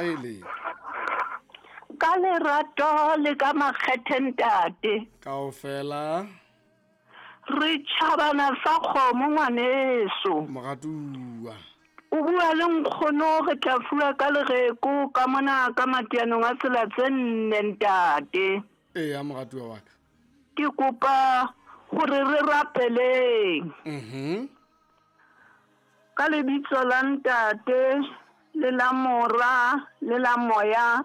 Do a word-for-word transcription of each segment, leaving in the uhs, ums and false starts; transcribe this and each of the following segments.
Molele. Ka lerato le ka makgethe ntate. Kaofela. Re tjhabana sa kgomo ngwaneso. Moratuwa. O bua le nkgono re tla fuwa ka lereko ka mona ka matianong a tsela tse nne ntate. Eya moratuwa wa ka. Ke kopa hore re rapeleng. Mhm. Ka lebitso la ntate le la mora le la moya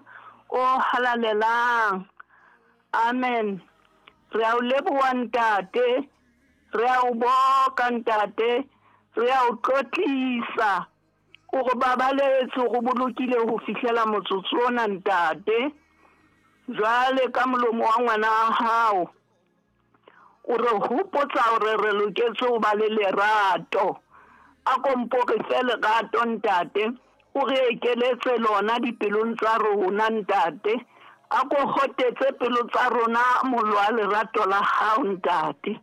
o halalelang. Amen. Re a o leboha ntate, re a o boka ntate, re a o tlotlisa. O re babaletse, o re bolokile ho fihlela motsotso ona ntate. Jwale ka molomo wa ngwana wa hao o re hopotsa hore re loketse ho ba le lerato. A ko mpo re fe lerato ntate, o re ekeletse lona dipelong tsa rona ntate. A ko hotetse pelo tsa rona mollo wa lerato la hao ntate.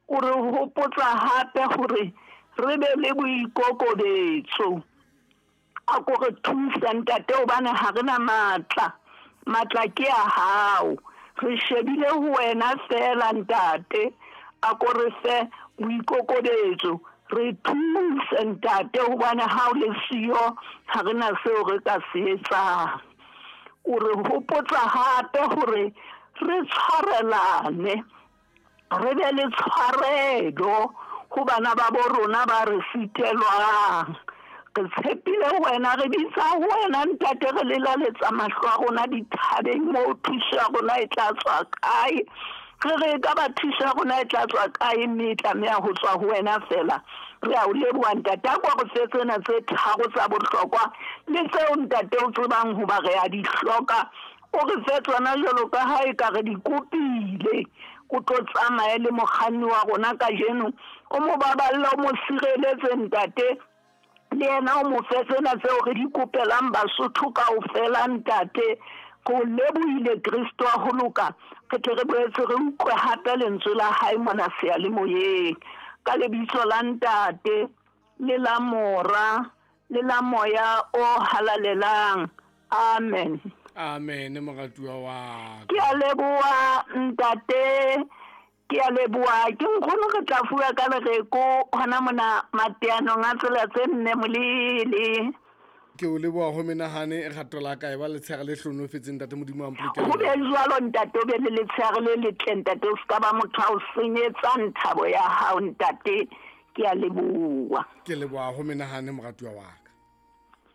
O re hopotsa hape hore re be le boikokobetso. A ko re thuse ntate hobane ha re na matla. Matla ke a hao. Re shebile ho wena feela ntate. A ko re fe boikokobetso. Re thuse ntate hobane ha o le siyo ha re na seo re ka se etsang. O re hopotsa hape hore re tshwarelane, re be le tshwarelo ho bana ba bo rona ba re sitelwang. Re tshepile ho wena, re bitsa ho wena ntate, re lelaletsa mahlo a rona dithabeng moo thuso ya rona e tla tswa kae. Re re ka ba thuso ya rona e tla tswa kae, mme e tlameha ho tswa ho wena feela. Re a o leboha ntate, a ko re fe tsena tse tharo tsa bohlokwa le tseo ntate o tsebang hoba re a di hloka. O re fe tsona jwalo ka ha e ka re di kopile. O tlo tsamaye le mokganni wa rona kajeno, o mo baballe, o mo sireletse ntate. Le yena o mo fe tsena tseo re di kopelang Basotho kaofela ntate. Ko lebohile Kristo wa ho loka, re tle re boetse re utlwe hape lentswe la hae mona seyalemoyeng. Ka lebitso la ntate le la mora le la moya o halalelang. Amen. Amen moratuwa wa ka. Ke a leboha ntate, ke a leboha. Ke nkgono re tla fuwa ka lereko hona mona mateanong a tsela tse nne Molele. Ke o leboha ho menahane rato la ka e ba letshehare le hlonofetseng ntate Modimo a mpolokele. Ho be jwalo ntate, o be le letshehare le letle ntate, o ska ba motho a o senyetsang thabo ya hao ntate. Ke a leboha. Ke leboha ho menahane moratuwa wa ka.